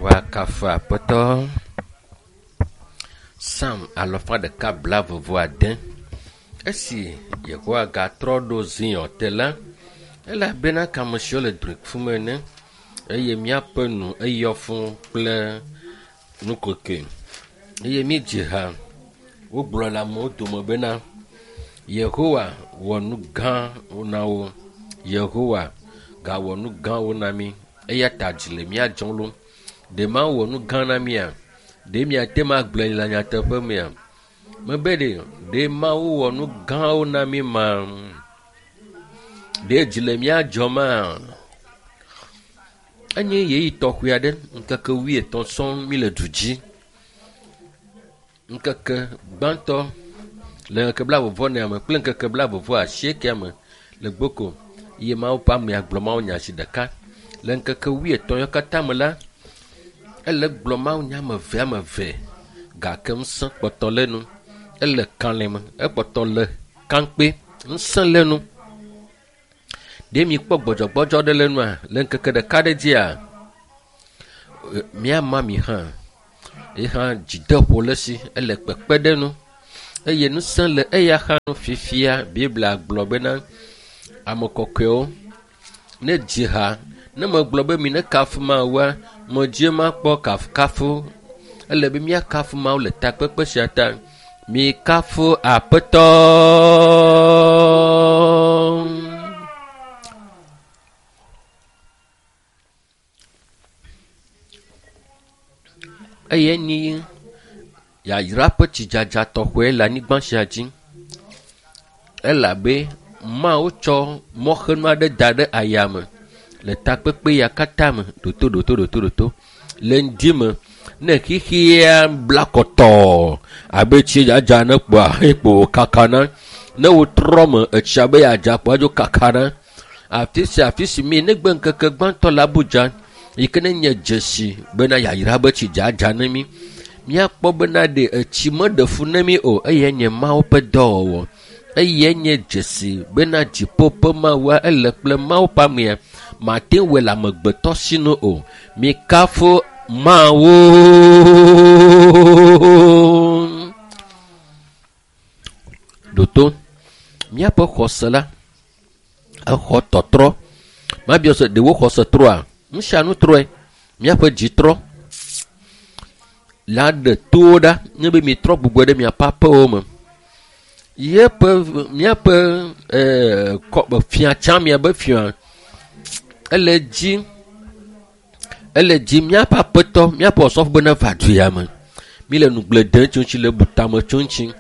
Woakafu Aƒetɔ. Psalm alafa ɖeka blaeve-vɔ-ade. Esi Yehowa gatrɔ ɖo Zion te la, ele abe na ame siwo le drɔ̃e kum ene eye míaƒe nu eyɔ fũu kple nukokoe eye míedzi ha. Wogblɔ le amewo dome bena, Yehowa wɔ nu gãwo na wo. Yehowa gawɔ nu gãwo na mí eya ta dzi le mía dzɔm ɖo. Ɖe Mawu wɔ nu gã na mía? Ɖe miate ŋu agblɔe le nyateƒe mea? Mebe ɖe, ɖe Mawu wɔ nu gãwo na mí ma? Ɖe dzi le mía dzɔma? Enye ɣeyiɣi tɔxɛ aɖe, ŋkeke wuietɔ̃ sɔŋ míle du dzi. Ŋkeke gbãtɔ le ŋkeke blaeve-vɔ-enea me kple ŋkeke blaeve-vɔ-asiekea me le gboko ye Mawu ƒe amea gblɔ mawunya zi ɖeka. Le ŋkeke wuietɔ̃ yawo katã me la, ele gblɔ mawunya ame eve ame eve gake ŋusẽ kpɔtɔ le enu. Ele kalẽ me, ekpɔtɔ le kaŋkpe, ŋusẽ le enu. Ɖe mikpɔ gbɔdzɔgbɔdzɔ ɖe le enua le ŋkeke ɖeka ɖe dzia? Míama mi hã. Ye hã dzideƒo le esi, ele kpekpe ɖe nu eye ŋusẽ le eya hã nu fifia. Biblia gblɔ bena ame kɔkɔewo ne dzi ha. Ne megblɔ be mi ne kafu Mawua, medzi makpɔ kafukafu. Ele be míakafu Mawu le takpekpe sia ta. Mikafu Aƒetɔ. Eye nyi yayra ƒe tsidzadza tɔxɛ le anyigba sia dzi elabe Mawu tsɔ mɔxenu aɖe da ɖe ayame le takpekpe ya katã me ɖoto ɖoto ɖoto ɖoto le ŋdi me ne xexea bla kɔtɔɔ abe tsi dzadza ne kpoa ekpo kakana ne wotrɔ me etsia be yeadza kpoa dzo kakana. Afi sia afi si mi negbe ŋkeke gbãtɔ le Abuja yi ke ne nye dzesi bena yayra be tsi dzadza ne mí. Míakpɔ bena ɖe etsi meɖe fu ne mí o eye nye Mawu ƒe dɔwɔwɔ. Eye nye dzesi bena dziƒo ƒe Mawua ele kple Mawu ƒe amea. Mate ŋu wɔe le amegbetɔ sinu o. Mikafu Mawu. Ɖoto míaƒe xɔse la exɔ tɔtrɔ. Mabiɔ se ɖewo xɔse trɔa? Nu sia nu trɔe. Míaƒe dzi trɔ. La ɖe towo ɖa nye be mitrɔ gbugbɔ ɖe miaƒe aƒewo me. Yeƒe míaƒe ee kɔ fia tsã miabe fia ele dzi ele dzi míaƒe aƒetɔ míaƒe osɔfo be neva du ya me. Mi le nugble dem tso ŋuti le bu tame tso ŋuti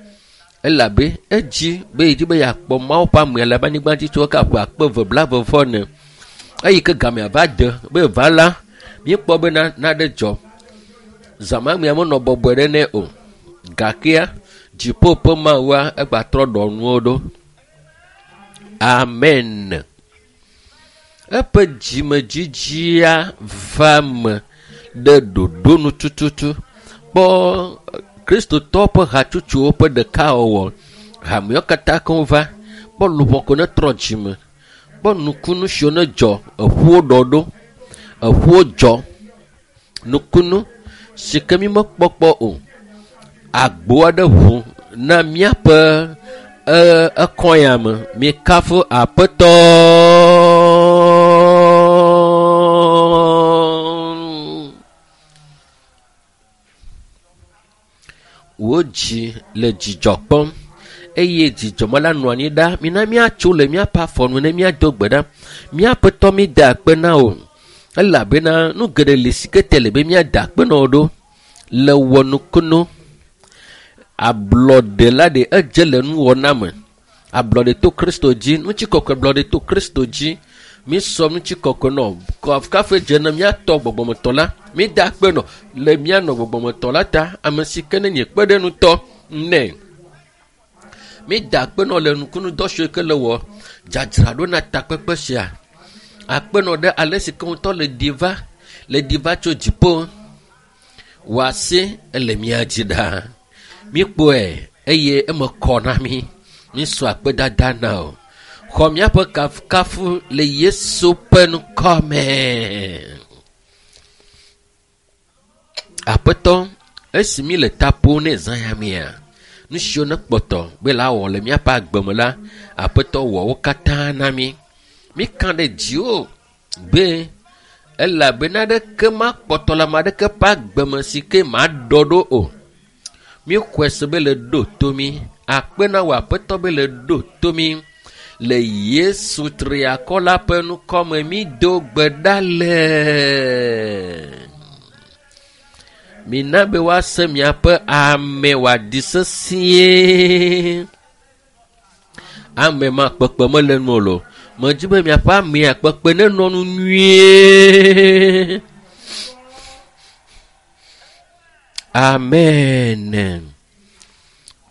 elabe edzi be yedi be yeakpɔ Mawu ƒe amea le anyigba dzi tso eke ƒe akpe eve blaeve vɔ ene. Eyi ke gamea va de be va la, míekpɔ be naɖe dzɔ. Zãmamea menɔ bɔbɔe ɖe nɛ o. Gakea dziƒo ƒe Mawua egbatrɔ ɖɔ nuwo ɖo. Amen. Eƒe dzimedzidzia va me ɖe ɖoɖo nu tututu. Kpɔ Kristotɔwo ƒe hatsotsowo ƒe ɖekawɔwɔ. Hamewo katã keŋ va. Kpɔ luʋɔ ko ne trɔ dzime. Kpɔ nukunu siwo ne dzɔ. Eƒuwo ɖɔ ɖo. Eƒuwo dzɔ. Nukunu si ke mi mekpɔ kpɔ o. Agbo aɖe ʋu na míaƒe ekɔ ya me. Mikafu Aƒetɔ. Wò dzi le dzidzɔ kpɔm eye dzidzɔ me la nɔ anyi ɖa. Mina míatso le míaƒe afɔ nu ne míado gbe ɖa. Míaƒetɔ mi da akpe na wò elabena nu geɖe li si ke te le be míada akpe na wò ɖo le wɔ nukunu. Ablɔɖe la ɖe edze le nuwɔna me. Ablɔɖe to Kristo dzi, ŋutikɔkɔe blɔɖe to Kristo dzi. Mísɔ ŋutikɔkɔe nɔ kafu dze ne míatɔ gbɔgbɔmetɔ la. Mída akpe nɔ le míanɔ gbɔgbɔmetɔ la ta. Ame si ke ne nye kpeɖeŋutɔ nɛ. Mída akpe nɔ le nukunudɔ siwo ke le wɔ dzadzraɖo na takpekpe sia. Akpe nɔ ɖe ale si ke ŋutɔ le ɖi va le ɖi va tso dziƒo. Wòasi ele mía dzi ɖaa. Míkpɔe eye eme kɔ na mí. Mísɔ akpedada na o. Xɔ míaƒe kafukafu le Yesu ƒe ŋkɔ me. Aƒetɔ, esi mi le ta ƒom ne zã ya mea, nu siwo ne kpɔtɔ be la wɔ le míaƒe agbe me la, Aƒetɔ wɔ wo katã na mí. Míka ɖe dziwò be elabena aɖeke makpɔtɔ le ame aɖeke ƒe agbe me si ke maɖɔ ɖo o. Míexɔe se be le ɖo to mí. Akpe na wò Aƒetɔ be le ɖo to mí. Le Yesu triakɔ la ƒe ŋkɔme mído gbe ɖa le. Mina be woase miaƒe ame wòaɖi sesĩe. Ame ma kpekpe mele nu o lo. Medzi be miaƒe amea kpekpe nenɔ nu nyuie. Amen.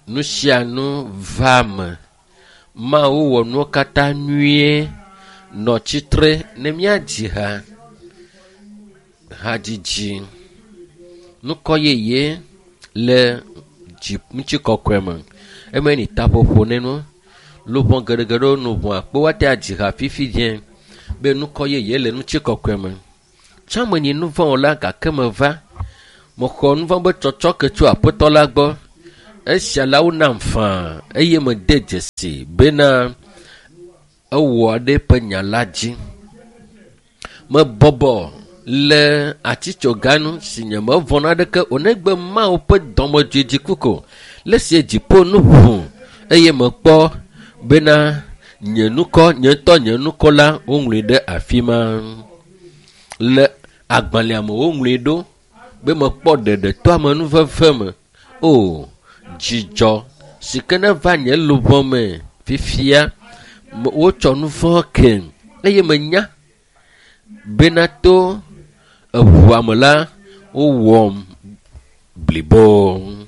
Nu sia nu va me. Mawu wɔ nuwo katã nyuie. Nɔ tsitre ne míadzi ha. Hadzidzi. Nukɔ yeye le dzi ŋutikɔkɔe me. Eme ni taƒoƒo ne nu. Luʋɔ geɖegeɖewo nu ʋua kpo woate adzi ha fifi dze be nukɔ yeye le ŋutikɔkɔe me. Tsã menyi nu vɔ̃ la gake meva. Mexɔ nu vɔ̃ be tsɔtsɔke tso Aƒetɔ la gbɔ. Esia la wonam faa eye mede dzesi bena ewɔ ɖe eƒe nya la dzi. Mebɔbɔ le atitsoganu si nyemevɔ̃ naneke o negbe Mawu ƒe dɔmedzoe dziku ko. Le esi dziƒo nu ʋu eye mekpɔ bena nye ŋkɔ, nye ŋutɔ nye ŋkɔ la woŋlɔe ɖe afi ma. Le agbalẽa me woŋlɔe ɖo be mekpɔ ɖeɖe to amenuveve me. O, dzidzɔ si ke neva nye luʋɔ me fifia, wotsɔ nu vɔ̃ kem eye menya bena to eʋua me la, wowɔm blibo.